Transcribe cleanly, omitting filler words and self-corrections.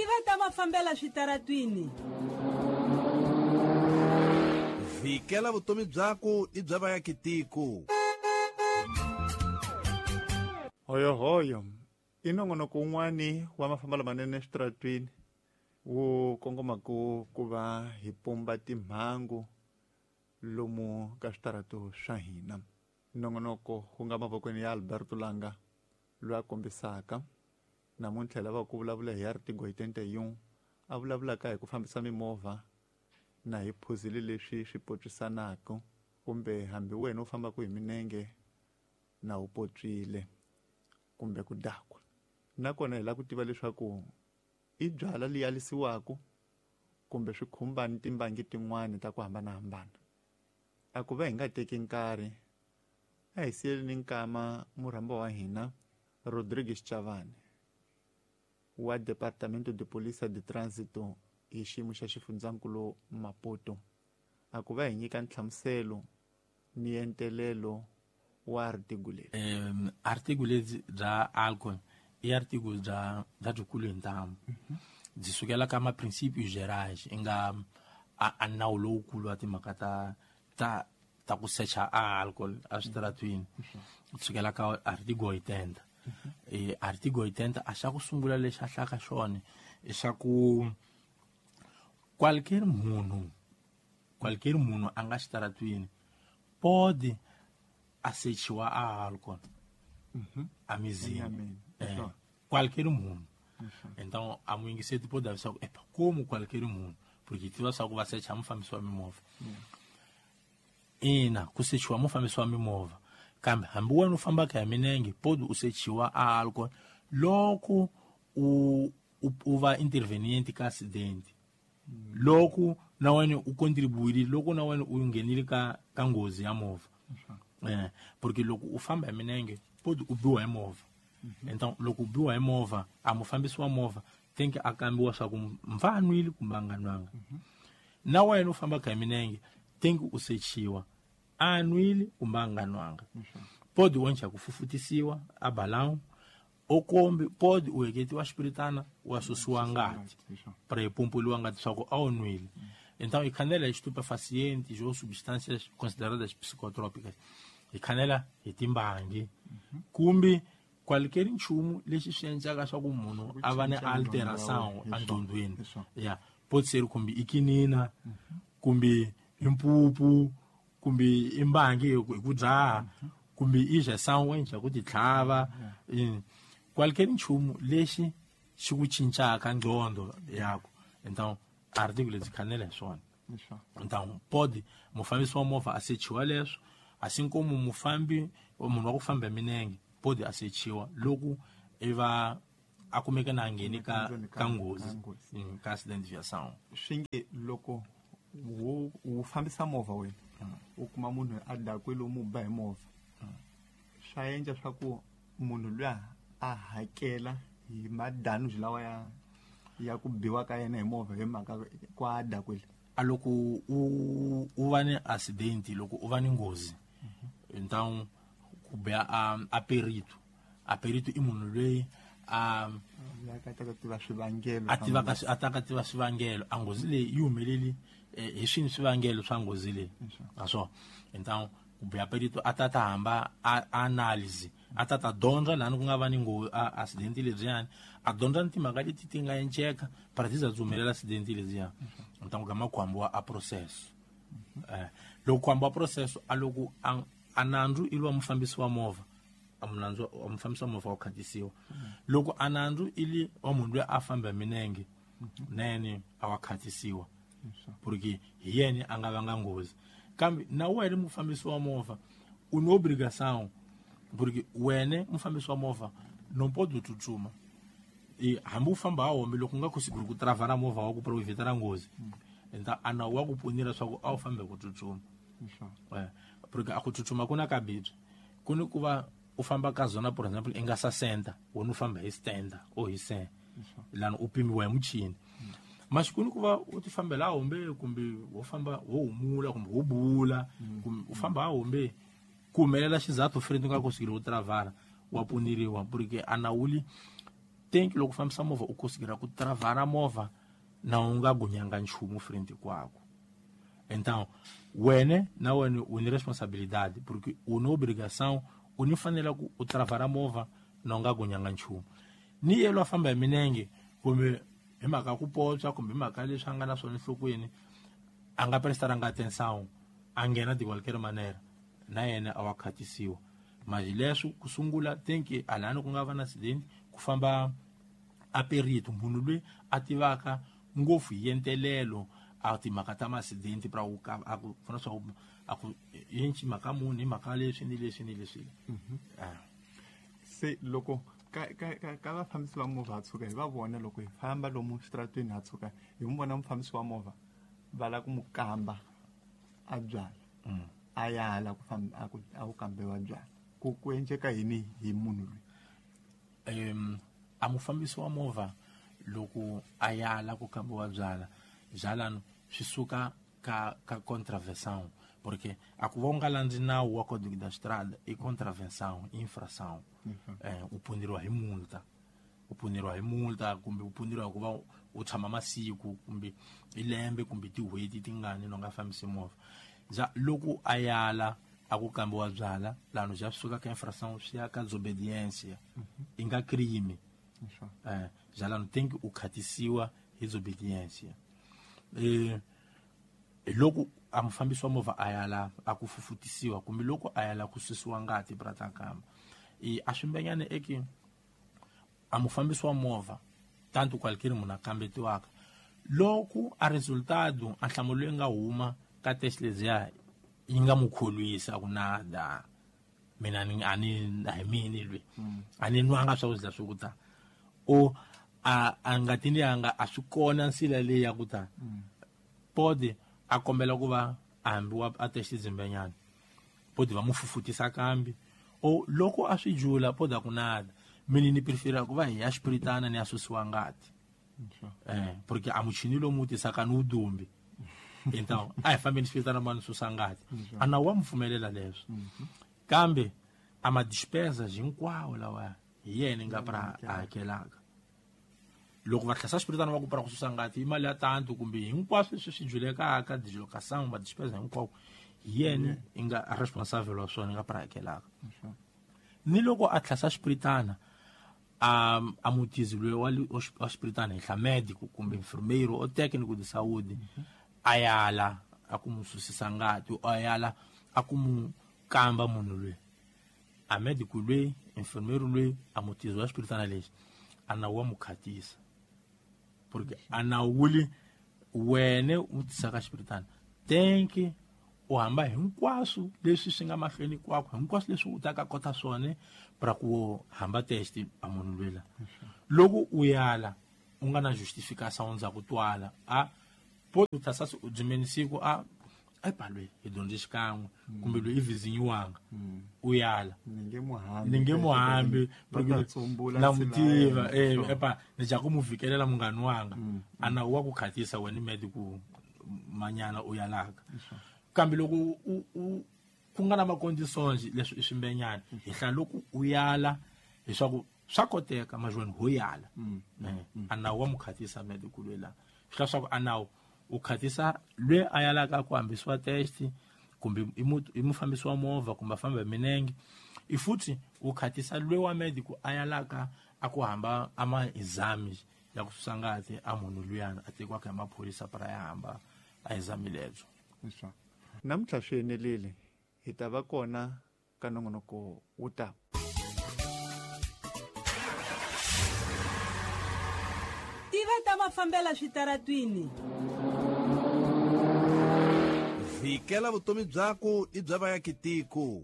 Tiva ta mafambela switaratwini. Vhikela vutomi byaku ni bya vayakitiko. Hoyohoyo i nongonoko wun'wani wa mafambelo manene eswitaratwini wu kongomaku ku va hi pumba timhangu lomu ka switarato swa hina. Nongonoko wu nga mavokweni ya Alberto Langa loyi a kombisaka namuntlha hi lava ku vulavula hi artigo 81 a vulavulaka hi ku fambisa mimovha na hi phuzile leswi swi potswisanaka kumbe hambi wena u fambaka hi minenge na u potswile kumbe ku dakwa. Nakona hi lava ku tiva leswaku i byala leyi alisiwaka kumbe swi khumba ni timbangi tin'wani ta ku hambanahambana. A ku va hi nga teki nkarhi a hi siyeleni nkama murhamba wa hina Rodrigues Chavani wa Departamento de Polícia de Trânsito hi xiyimo xa xifundzankulu Maputo a ku va hi nyika nhlamuselo ni entelelo wa artigo leri. Artigo lebyi bya alcohol i artigo bya byikulu hi ntamu. Byi sukela ka ma-princípios gerais i nga a nawu lowukulu wa timhaka ta ku secha a alcohol a switaratwini. Sukela ka artigo 80. Artigo 80 a xa ku sungula lexi a hlaka xona i xa ku qualquer munhu a nga xitaratwini pode a sechiwa a alcohol a mizini. Qualquer munhu. Então a muyingiseti pode avisar ku epa como qualquer munhu porque tiva swa ku va secha mufambisi wa mimovha. Ina ku sechiwa mufambisi wa mimovha kambe hambi wena u fambaka hi minenge pode u sechiwa a alcohol loko u va intervenient ka accident. Loko na wena u contribuile loko na wena u nghenile ka nghozi ya movha. Porque loko u famba hi minenge pode u biwa hi movha. Então loko u biwa hi movha a mufambisi wa movha tem que a kambiwa swa ku mfa a nwile kumbe a nga nwanga. Na wena u fambaka hi minenge tem que u sechiwa a nwile kumbe a nga nwanga. Pode u endla ku fufutisiwa a balão o kombi pode u heketiwa xipiritana wa susiwa ngati para hi pompoliwa ngati swa ku a wu nwile. Então hi khanela hi estupefacientes ou substâncias consideradas psicotrópicas. Hi khanela hi timbangi kumbe qualquer nchumu lexi swi endlaka swa ku munhu a va ni alteração enqondweni. Ya pode ser kumbe i kinina kumbe i mpupu kumbe i mbangi hi ku dzaha kumbe i injeção endla ku titlhava. Qualquer nchumu lexi xi ku cincaka nqondo yaku. Então artigo lebyi khanela hi swona. Então pode mufambisi wa movha a sechiwa leswo assim como mufambi munhu wa ku famba hi minenge pode a sechiwa loko i va a kumeka na ngheni ka nghozi ka accident de viação. Swi nge loko wu fambisa movha wena u kuma munhu a dakwile u mu ba hi movha swa endla swa ku munhu luya a hakela hi madanuji lawa ya ku biwa ka yena hi movha hi mhaka ku a dakwile. A loko u va ni accident loko u va ni nghozi então ku biwa a perito. A perito i munhu loyi a ta tiva swivangelo a ta tiva swivangelo a nghozi leyi yi humeleli hi swini swivangelo swa nghozi leyi naswona. Então ku biwa perito a ta hamba a analyse a ta dyondza lani ku nga va ni nghozi accident lebyiyani a dyondza ni timhaka leti ti nga enceka para ti za byi humelela accident lebyiya. Então ku gama ku hambiwa a processo. Loko ku hambiwa processo a loko a nandzu i lwa mufambisi wa movha a munandzu wa mufambisi wa movha wa khatisiwa. Loko a nandzu i li wa munhu loyi a famba hi minenge nene a wa khatisiwa porque hi yena a nga vanga nghozi. Kambe na wena mufambisi wa movha u ni obrigação porque wena mufambisi wa movha não pode tsutsuma. Hambi u famba ha hombe loko u nga conseguir ku travara movha wa ku para u evitara nghozi então a nawu wa ku punira swa ku a wu fambi ku tsutsuma. Porque a ku tsutsuma ku na ka bibyi ku ni ku va u famba ka zona por exemple i nga 60 wena u famba hi 70 or hi 100 lani u pimiwa hi muchini. Masiku ku va u ti fambela hombe kumbe wo famba wo humula kumbe wo bula kumbe u famba hombe ku humelela xizathu friend u nga conseguir ku travara wa puniriwa porque a nawuli Tem que loko fambisa movha u conseguirá ku travara movha na u nga gunyanga nchumu frente kwako. Então, wena na wena u ni responsabilidade, porque u ni obrigação, u ni fanele ku u travara movha na u nga gunyanga nchumu. Ni yelo a famba hi minenge kumbe hi mhaka ku potswa kumbe hi mhaka leswi a nga na swona enhlokweni, a nga prestaranga atenção, a nghena de qualquer maneira, na yena a wa khatisiwa. Mas leswi ku sungula tem que alani ku nga va na accident, ku famba a perito, munhu loyi a tivaka ngopfu hi yentelelo a timhaka ta ma-accident pra ku a ku pfuna swa ku a ku yinci mhaka muni hi mhaka leswi ni leswi ni leswi. Se loko ka vafambisi va movha ha tshuka hi va vona loko hi famba lomu xitaratweni ha tshuka hi n'wi vona mufambisi wa movha va lava ku n'wi kamba a byala a yala ku famba a ku kambiwa byala ku endleka yini hi munhu loyi? A mufambisi wa movha loko a yala ku kambiwa byala byalano swi suka ka contravenção, porque a ku va u nga landzi nawu wa Código da Estrada i contravenção, infração. U puneriwa hi multa, u puneriwa hi multa kumbe u puneriwa hi ku va u tshama masiku kumbe hi lembe kumbe tin'hweti tingani no nga fambisi movha. Loko a yala a ku kambiwa byala lano bya suka ka infração swi ya ka desobediência, i nga crime. Byalano tem que u khatisiwa hi desobediência. Loko a mufambisi wa movha a yala a ku fufutisiwa kumbe loko a yala ku susiwa ngati pra kamba, a swimbenyane eki a mufambisi wa movha tanto qualquer munhu a kambetiwaka loko a resultado a nhlamulo leyi nga huma ka test leziya yi nga mu kholwisa ku nada mina a ni a hi mini lwe a ni nwanga swakudya swo ku ta o a ngatini yanga a swi kona nsila leyi ya ku ta pode a kombela ku va a hambiwa a test dzimbenyana pode va mu fufutisa kambi o loko a swi jula pode a ku nada mina ni prefera ku va hi ya xipiritana ni ya susiwa ngati porque a muchini lomu tisaka ni udumbi. Então a hi fambeni xipiritana ma ni susa ngati a nawu wa mu pfumelela leswo kambe a ma despesas hinkwawo lawa hi yena nga pra a hakelaka. Loko va tlhasa xipiritana va ku pra ku susa ngati i mali ya tanto kumbe hinkwaswo leswi swi julekaka dislocação ma despesa hinkwawo hi yena i nga responsável wa swona i nga pra hakelaka. Ni loko a tlhasa xipiritana a mutizi loyi wa xipiritana hi hla médico kumbe enfermeiro ou técnico de saúde a yala a ku mu susisa ngati a yala a ku mu kamba munhu loyi a médico loyi enfermeiro loyi a mutizi wa xipiritana lexi a nawu wa mu khatisa porque a nawu wuli wena u tisaka xipiritana tenke u hamba hinkwaswo leswi swi nga mahlweni kwakho hinkwaswo leswi u taka kota swona pra ku hamba test a munhu lwela. Loko u yala u nga na justificação ndzhaku twala a po u tlhasa u dzimeni siku a palwe hi dyondze xikan'we kumbe loyi i vizinyiwanga u yala ni nge muhambi na mutiva epa ni ja ku mu vikelela munghani wanga a nawu wa ku khatisa wena medico manyana u yalaka. Kambe loko ku nga na maconditions leswi i swimbenyana hi hla loko u yala leswaku swa koteka majweni ho yala a nawu wa mu khatisa medico lwela swi hla swa ku a nawu u khatisa lwe a yalaka ku hambisiwa test kumbe i mufambisi wa movha kumbe a famba hi minenge i futhi u khatisa lwe wa medico a yalaka a ku hamba ama exames ya ku susa ngati a munhu luyana a tekiwaka hi maphorisa para ya hamba a exame lebyo. Namuntlha swi enelile hi ta va kona ka nongonoko wu ta. Tiva ta mafambela switaratwini. Vikela vutomi byaku i bya vayakitiko.